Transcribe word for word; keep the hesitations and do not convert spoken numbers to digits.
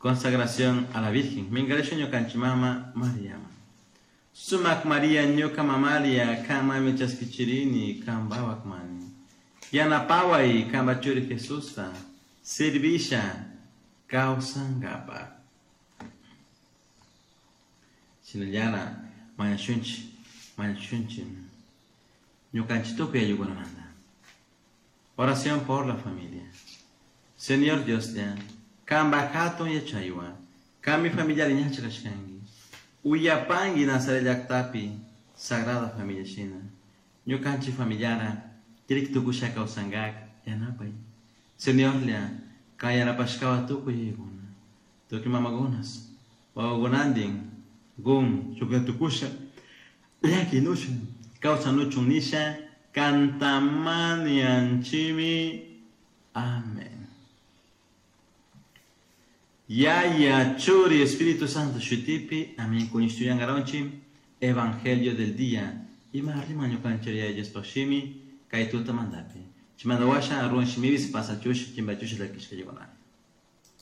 Consagración a la Virgen. Minkarisha ñukanchik mama Mariaman. Sumak Maria ñuka mamaria kanmami chaskichirini kanpawak mani. Yanapaway kanpa churi Jesusta servisha kawsankapak. Shinallara mañashunchik mañashunchik ñukanchik tukuy ayllukunamanta. Oración por la familia. Señor Dioslla, kanpak hatun yachaywan, kanmi familiata ña churashkanki. Uyapanki Nazaret llaktapi Sagrada Familia shina. Ñukanchik familiara kirik tukusha kawsankak yanapay. Señorlla, kan yanapashkawan tukuy yayakuna, tukuy mamakunas, wawakunantin, gun tukusha, llakinushun, kawsanuchun nisha, kanta mañanchimi. Amén. Yaya, Churi, Espíritu Santo, Shutipi, amén. Kuñishtuyangaronchi, Evangelio del día. Ima rima ñukanchik Yaya Diospaj shimi, kay tutamantapi. Chaymanta washa ruwan shimipis pasachush, chimbachush llakishka.